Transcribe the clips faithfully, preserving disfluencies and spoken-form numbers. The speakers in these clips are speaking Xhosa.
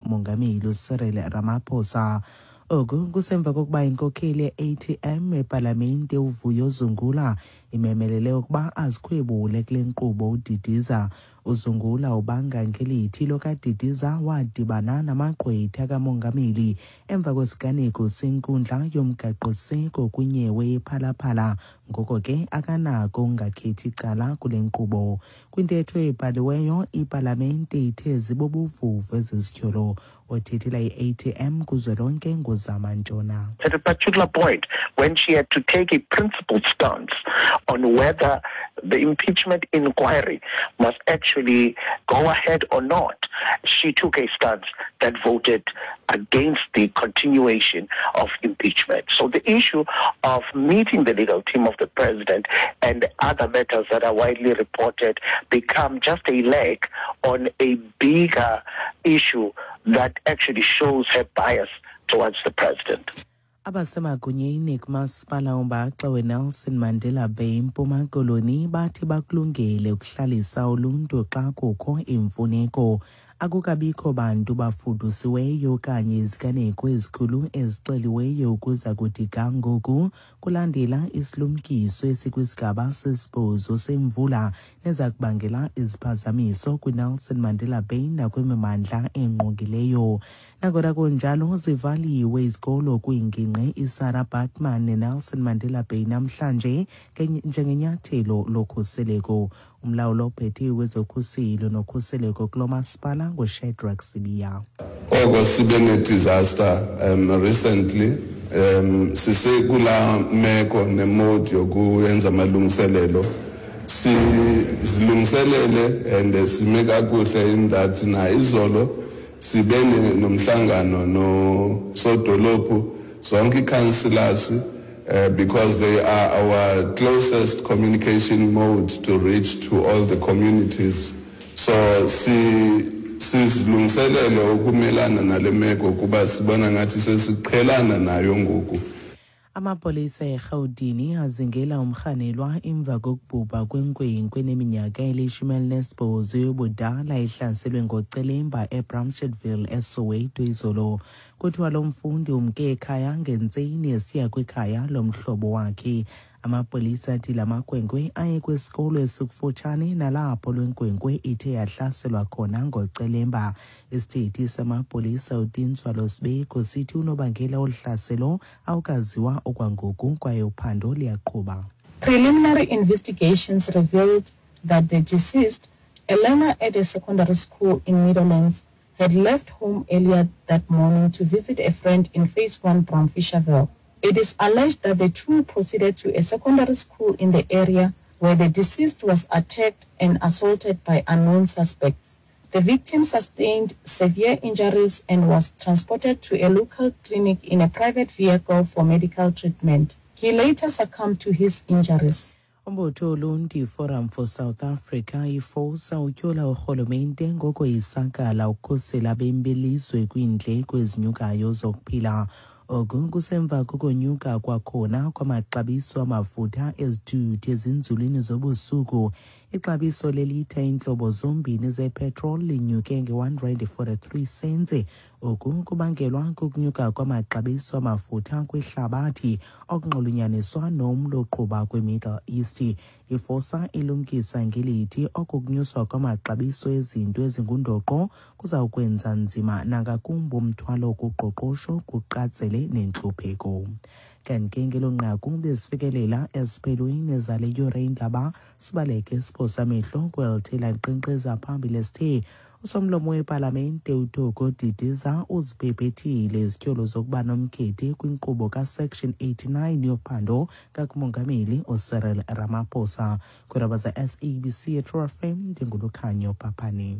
kumongameli uCyril Ramaphosa. Oku kusemva kokuba inkokheli ye-A T M epalamente uVuyo Zungula imemelele ukuba azikhwebule kule nkqubo uDidiza. UZungula ubanga ngelithi lo kaDidiza wadibana namagqwetha kamongameli emva kwesiganeko senkundla yomgaqoseko kwinyewe yePhala Phala, ngoko ke akanako ukungakhethi cala kule nkqubo. Kwintetho ebhaliweyo, ipalamente ithe zibubuvuvu ezi zityholo. Othethela i-A T M kuzwelonke nguZama Ntshona. At a particular point, when she had to take a principled stance on whether the impeachment inquiry must actually go ahead or not, she took a stance that voted against the continuation of impeachment. So the issue of meeting the legal team of the president and other matters that are widely reported become just a leg on a bigger issue that actually shows her bias towards the president. Abasemagunyeni kumasipala ombaxa weNelson Mandela Bay eMpuma Koloni bathi bakulungele ukuhlalisa uluntu xa kukho imfuneko. Akukabikho bantu bafudusiweyo okanye iziganeko ezikhulu ezixeliweyo ukuza kuthi ga ngoku, kulandela isilumkiso esikwisigaba sesibhozo semvula neza kubangela iziphazamiso kwiNelson Mandela Bay nakwimimandla engqongileyo. Nangona kunjalo, zivaliwe izikolo kwiingingqi iSarah Baartman neNelson Mandela Bay namhlanje njengenyathelo lokhuseleko. Umlawuli ophethe wezokhuselo nokhuseleko kulo masipala nguShadrack Sibiya. Oko sibe ne-disaster um recently, um sisekula meko ne-mode yokuyenza amalungiselelo. Sizilungiselele and sime kakuhle in that na izolo sibe nomhlangano nosodolophu, zonke ii-councillors, uh, because they are our closest communication mode to reach to all the communities. So si sizilungiselele ukumelana nale meko kuba sibona ngathi sesiqhelana nayo ngoku. Amapolisa eRhawutini azingela umrhanelwa emva kokubhubha kwenkwenkwe eneminyaka elishumi elinesibhozo yobudala ehlaselwe ngocelemba eBramshitville eSoweto izolo. Kuthiwa lo mfundi umke ekhaya ngentseni esiya kwikhaya lomhlobo wakhe. Amapolisa athi la makhwenkwe aye kwisikolo esikufutshane nalapho le nkwenkwe ithe yahlaselwa khona ngocelemba. Isithethi samapolisa uTintswalo Sibeko sithi unobangela wolu hlaselo awukaziwa okwangoku kwaye uphando liyaqhuba. Preliminary investigations revealed that the deceased, a learner at a secondary school in Meadowlands, had left home earlier that morning to visit a friend in Phase one Braamfischerville. It is alleged that the two proceeded to a secondary school in the area where the deceased was attacked and assaulted by unknown suspects. The victim sustained severe injuries and was transported to a local clinic in a private vehicle for medical treatment. He later succumbed to his injuries. Umbutho woluntu iForum for South Africa, iFOSA, utyhola urhulumente ngokoyisakala ukukhusela abemi belizwe kwiindleko ezinyukayo zokuphila. Oku kusemva kokonyuka kwakhona kwamaxabiso amafutha ezithuthi ezinzulwini zobusuku. Ixabiso lelitha iintlobo zombini zepetrol linyuke nge-one rand forty-three cents. Oku kubangelwa kukunyuka kwamaxabiso amafutha kwihlabathi okunxulunyaniswa nomlo oqhuba kwiMiddle East. IFOSA ilumkisa ngelithi oku kunyuswa kwamaxabiso ezinto ezingundoqo kuzawukwenza nzima nangakumbi umthwalo kuqoqosho, kuqatsele nentlupheko. Kanti ke ngelo nqaku bezifikelela esiphelweni zale yure indaba. Sibaleke siphosa amehlo kwelithe lankqenkqeza phambili esithe usomlomo wepalamente uThoko Didiza uzibhebhethile izityholo zokuba nomkhethe kwinkqubo kaSection eighty-nine yophando kakumongameli uCyril Ramaphosa. Kwiindaba ze-S A B C eTrue F M, ndinguLukhanyo Paphane.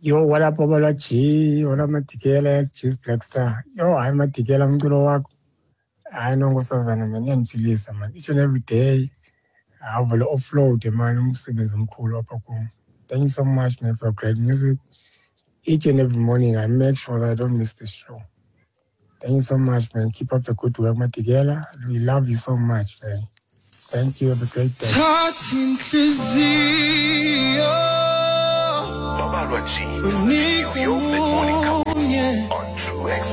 Yo, what up, Babalwa G? What up, Madikela, G's Black Star? Yo, hayi Madikela, umculo wakho. Hayi nonkosazana man, iyandiphilisa man. Each and every day, awuvele offload man, umsebenzi omkhulu apha kum. Thank you so much, man, for great music. Each and every morning, I make sure that I don't miss the show. Thank you so much, man. Keep up the good work, Madikela. We love you so much, man. Thank you. Have a great day. Thatha inhliziyo Babalwa G, your mid-morning. True.